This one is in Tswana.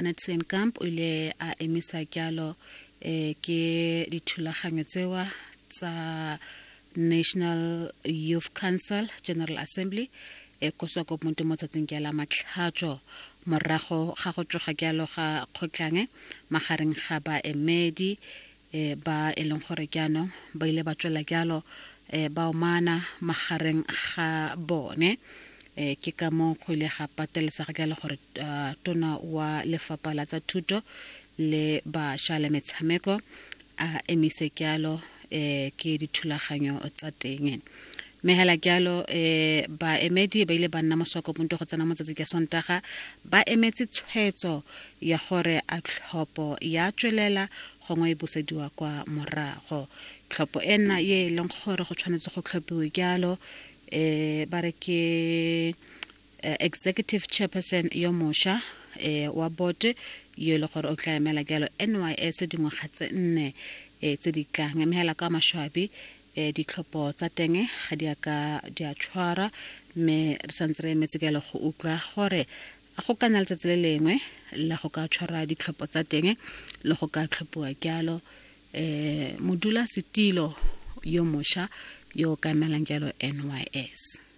Sanet Steenkamp o ile a emisa jalo eh, ke dithulaganyo tsewa tsa National Youth Council General Assembly e ko Swakopmund mo tsatsing ke la matlhatso morago ga go tsoga jalo ga kgotlang magareng ga baemedi eh, ba e leng gore jaanong ba ile ba tswela jalo eh, ba omana magareng ga bone. Ke ka moo go ile ga patelesega jalo gore uh, tona wa lefapha la tsa thuto le bašwa le metshameko a emise jalo ke dithulaganyo tsa teng. Mme hela jalo baemedi ba ile ba nna mo Swakopmund go tsena motsatsi ka Sontaga ba emetse tshwetso ya gore a tlhopho ya tswelela gongwe e busediwa kwa morago. Tlhopho ena ye e leng gore go tshwanetse go tlhophiwe jalo ba re ke executive chairperson yo mosha wa board yo e le gore o tla emela jalo NYS dingwaga tse nne tse di tlang. Mme hela ka maswabi ditlhopho tsa teng ga di a ka di a tshwara, mme re santse re emetse jalo go utlwa gore a go ka nna letsatsi le lengwe la go ka tshwara ditlhopho tsa teng le go ka tlhophiwa jalo modula setilo yo mosha yo o ka emelang jalo NYS.